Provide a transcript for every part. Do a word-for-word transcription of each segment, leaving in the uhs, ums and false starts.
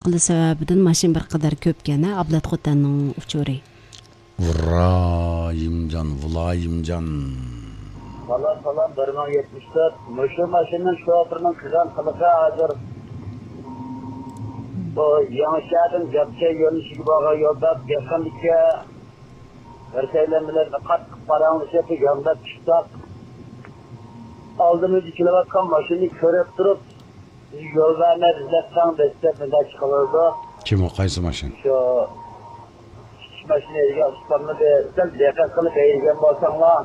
قىلىش سەۋەبىدىن ماشىنا بىر قەدەر كۆپكەن، ھە، ئابلەت خوتەننىڭ ئۇچۇرى. ۋىرايىمجان، ۋىلايىمجان. سالام، سالام، بىر مىڭ يەتمىش تۆت. مۇشۇ ماشىنىنىڭ شوپۇرىنىڭ قىلغان قىلىقى ھازىر بۇ يېڭىشەھەردىن گەپچە يۆنىلىشىگە بارغان يولدا يېقىندىكى بىر سەيلەن بىلەن قاتتىق پاراڭلىشىپ، يانداپ چىقساق، ئالدىمىزدا كېلىۋاتقان ماشىنىنى كۆرۈپ تۇرۇپ، يول بەرمەي بىزلەر تەڭ دەسسەپ مۇنداق چىقىۋالىدۇ. كىم ئۇ؟ قايسى ماشىنا؟ شۇ كىچىك ماشىنا ھەيدىگەن ئۇستامنى بىر سەل دىققەت قىلىپ ھەيدىگەن بولساڭلار.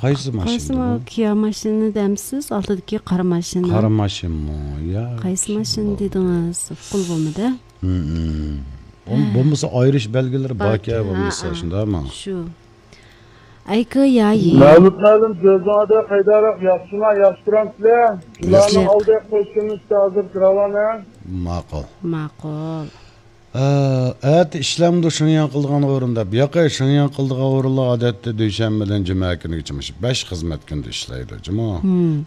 قايسى ماشىنا قايسى ما-، بۇ؟ كىيا ماشىنىنى دەمسىز؟ ئالدىدىكى قارا ماشىنا. قارا ماشىنىمۇ؟ يا، قايسى ماشىنا دېدىڭىز؟ ئۇققىلى بولمىدى. ھە. بولمىسا ئايرىش بەلگىلىرى باركەن، باركەن، بولمىسا، ھە، ھە. شۇنداقمۇ؟ شۇ. ئەيكى يايى. مەۋلۇت مەلۇم، كۆزۈڭ ئادەم قايداراق، ياخشىما، ياخشى تۇرامسىلەر؟ ياخشى. ئالدى قوشۇننى ھازىر كىراۋالە. ماقۇل. ماقۇل. ئە، ئەتە ئىشلەمدۇ شېڭياڭ قىلىدىغان ئورۇن دەپ؟ ياقى، شېڭياڭ قىلىدىغان ئورۇنلار ئادەتتە دۈشەنبىدىن جۈمە كۈنىگىچە مۇشۇ بەش خىزمەت كۈنىدە ئىشلەيدۇ، جۇمۇ.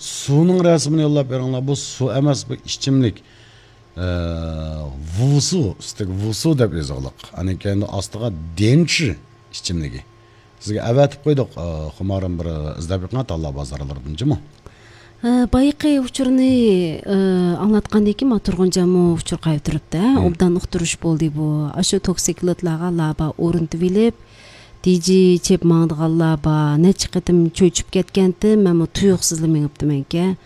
سۇنىڭ رەسىمىنى يوللاپ بېرىڭلار. بۇ سۇ ئەمەس، بۇ ئىچىملىك. ئە، ۋۇسۇ، ئۈستىگە ۋۇسۇ دەپ يېزىقلىق. ئاندىن كېيىن ئاستىغا دېنچى ئىچىملىكى. سىزگە ئەۋەتىپ قويدۇق، ئە، خۇمارىم بىر ئىزدەپ بېقىڭ، تاللا بازارلىرىدىن، جۇمۇ. ئە، بايىقى ئۇچۇرنى، ئە، ئاڭلاتقاندىن كېيىن، ما تۇرغۇنجانمۇ ئۇچۇر قايتۇرۇپتۇ، ھە؟ مم. ئوبدان ئۇقتۇرۇش بولدى بۇ. ئاشۇ توكسىكلىتلارغا لابا ئورنىتىۋېلىپ، دىجى چېپ ماڭىدىغانلار بار، نەچچە قېتىم چۆچۈپ كەتكەنتىم، مەنمۇ تۇيۇقسىزلا مېڭىپتىمەنكەن.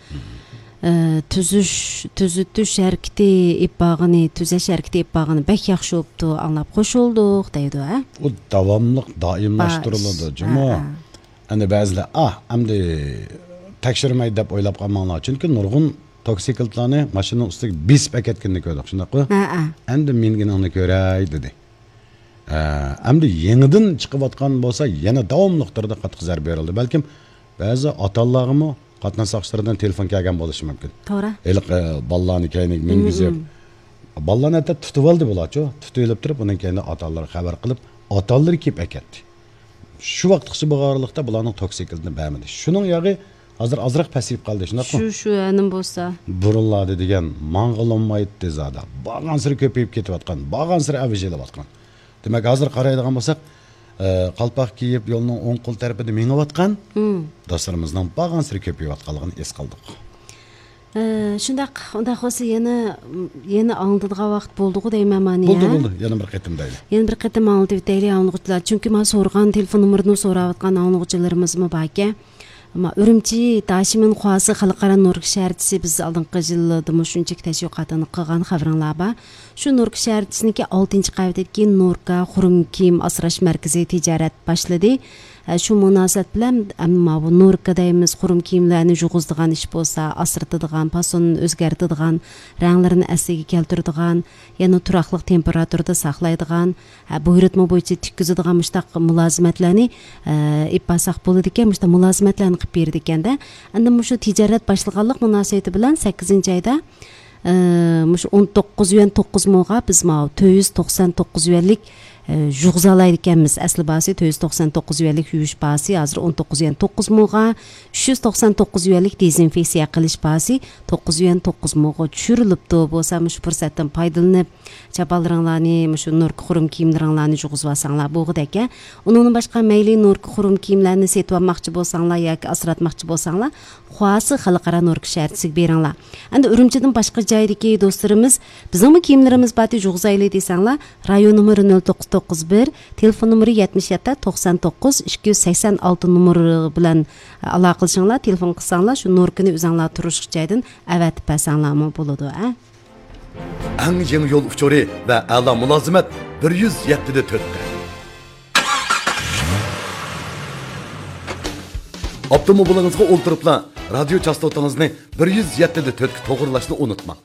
ئە، تۈزۈش، تۈزىتىش ھەرىكىتى ئېلىپ بارغىنى، تۈزەش ھەرىكىتى ئېلىپ بارغىنى بەك ياخشى بوپتۇ، ئاڭلاپ خوش بولدۇق، دەيدۇ، ھە؟ ئۇ داۋاملىق، دائىملاشتۇرۇلىدۇ، بار ئىش. جۇمۇ. ھە، ھە. ئەنە بەزىلەر، ئاھ، ئەمدى تەكشۈرمەيدۇ دەپ ئويلاپ قالماڭلار. چۈنكى نۇرغۇن توكسىكلىتلارنى ماشىنىنىڭ ئۈستىگە بېسىپ ئەكەتكىنىنى كۆردۇق، شۇنداققۇ؟ ھە، ھە. ئەمدى مىنگىنىڭنى كۆرەي، دېدى. ئە، ئەمدى يېڭىدىن چىقىۋاتقان بولسا، يەنە داۋاملىق تۈردە قاتتىق زەربە بېرىلدى. بەلكىم بەزى ئاتا-ئانىلارغىمۇ قاتناش ساقچىلىرىدىن تېلېفون كەلگەن بولۇشى مۇمكىن. توغرا. ھېلىقى بالىلارنى كەينىگە مىنگۈزۈپ، مم، مم. بالىلارنى ھەتتا تۇتۇۋالدى بۇلارچۇ. تۇتۇۋېلىپ تۇرۇپ، ئۇنىڭ كەينىدە ئاتا-ئانىلارغا خەۋەر قىلىپ، ئاتا-ئانىلىرى كېلىپ ئەكەتتى. شۇ ۋاقىتقىچە بولغان ئارىلىقتا بۇلارنىڭ توكسىكلىتىنى بەرمىدى. شۇنىڭ ياغى ھازىر ئازراق پەسىيىپ قالدى، شۇنداقمۇ؟ شۇ، شۇ، ئەنە بولسا. بۇرۇنلاردا دېگەن ماڭغىلى بولمايتتى زادى. بارغانسېرى كۆپىيىپ كېتىۋاتقان، بارغانسېرى ئەۋج ئېلىۋاتقان. دېمەك، ھازىر قارايدىغان بولساق، ئە، قالپاق كىيىپ، يولنىڭ ئوڭ قول تەرىپىدە مېڭىۋاتقان، مم، دوستلىرىمىزنىڭ بارغانسېرى كۆپىيىۋاتقانلىقىنى ھېس قىلدۇق. ئە، شۇنداق، ئۇنداق بولسا يەنە، يەنە ئاڭلىتىدىغان ۋاقىت بولدىغۇ دەيمەن مانا، بولدى، يا؟ بولدى. يەنە بىر قېتىم دەيلى. يەنە بىر قېتىم ئاڭلىتىۋېتەيلى ئاڭلىغۇچىلار. چۈنكى مانا سورىغان تېلېفون نومۇرىنى سوراۋاتقان ئاڭلىغۇچىلىرىمىزمۇ باركەن. ئەمما ئۈرۈمچى داشىمىن خۇاسى خەلقئارا نوركا شەھەرچىسى بىز ئالدىنقى يىللىرىدا مۇشۇنچىلىك تەشۋىقاتىنى قىلغان خەۋىرىڭلار بار. شۇ نوركا شەھەرچىسىنىڭكى ئالتىنچى قەۋىتىدىكى نوركا خۇرۇم كىيىم ئاسراش مەركىزى تىجارەت باشلىدى. ھە، شۇ مۇناسىۋەت بىلەن ئەمما بۇ نوركا دەيمىز، خۇرۇم كىيىملەرنى يۇغۇزىدىغان ئىش بولسا، ئاسرىتىدىغان، پاسونىنى ئۆزگەرتىدىغان، رەڭلىرىنى ئەسلىگە كەلتۈرىدىغان، يەنە تۇراقلىق تېمپېراتۇرىدا ساقلايدىغان، ھە، بۇيرۇتما بويىچە تىككۈزىدىغان مۇشۇنداق مۇلازىمەتلەرنى، ئە، ئېلىپ بارساق بولىدىكەن، مۇشۇنداق مۇلازىمەتلەرنى قىلىپ بېرىدىكەن-دە. ئەمدى مۇشۇ تىجارەت باشلىغانلىق مۇناسىۋىتى بىلەن سەككىزىنچى ئايدا، ئە، مۇشۇ ئون توققۇز يۈەن توققۇز موغا بىز ماۋۇ تۆت يۈز توقسان توققۇز يۈەنلىك، ئە، يۇغۇزالايدىكەنمىز. ئەسلى باھاسى تۆت يۈز توقسان توققۇز يۈەنلىك يۇيۇش باھاسى ھازىر ئون توققۇز يۈەن توققۇز موغا، ئۈچ يۈز توقسان توققۇز يۈەنلىك دېزىنفېكسىيە قىلىش باھاسى توققۇز يۈەن توققۇز موغا چۈشۈرۈلۈپتۇ. بولسا مۇشۇ پۇرسەتتىن پايدىلىنىپ، چاپانلىرىڭلارنى، مۇشۇ نوركا خۇرۇم كىيىملىرىڭلارنى يۇغۇزۇۋالساڭلار بولغۇدەككەن. ئۇنىڭدىن باشقا، مەيلى نوركا خۇرۇم كىيىملەرنى سېتىۋالماقچى بولساڭلار ياكى ئاسراتماقچى بولساڭلار، خۇاسى خەلقئارا نوركا شەھەرچىسىگە بېرىڭلار. ئەمدى ئۈرۈمچىدىن باشقا جايدىكى دوستلىرىمىز، بىزنىڭمۇ كىيىملىرىمىز بار، يۇغۇزايلى دېسەڭلار، رايون نومۇرى نۆل توققۇز توققۇز بىر، تېلېفون نومۇرى يەتمىش يەتتە توقسان توققۇز ئىككى يۈز سەكسەن ئالتە نومۇرى بىلەن ئالاقىلىشىڭلار، تېلېفون قىلساڭلار، شۇ نوركىنى ئۆزەڭلار تۇرۇشلۇق جايدىن ئەۋەتىپ بەرسەڭلارمۇ بولىدۇ، ئە. ئەڭ يېڭى يول ئۇچۇرى ۋە ئەلا مۇلازىمەت بىر يۈز يەتتە دە تۆتتە. ئاپتوموبىلىڭىزغا ئولتۇرۇپلا رادىيو چاستوتىڭىزنى بىر يۈز يەتتە دە تۆتكە توغرىلاشنى ئۇنتۇماڭ.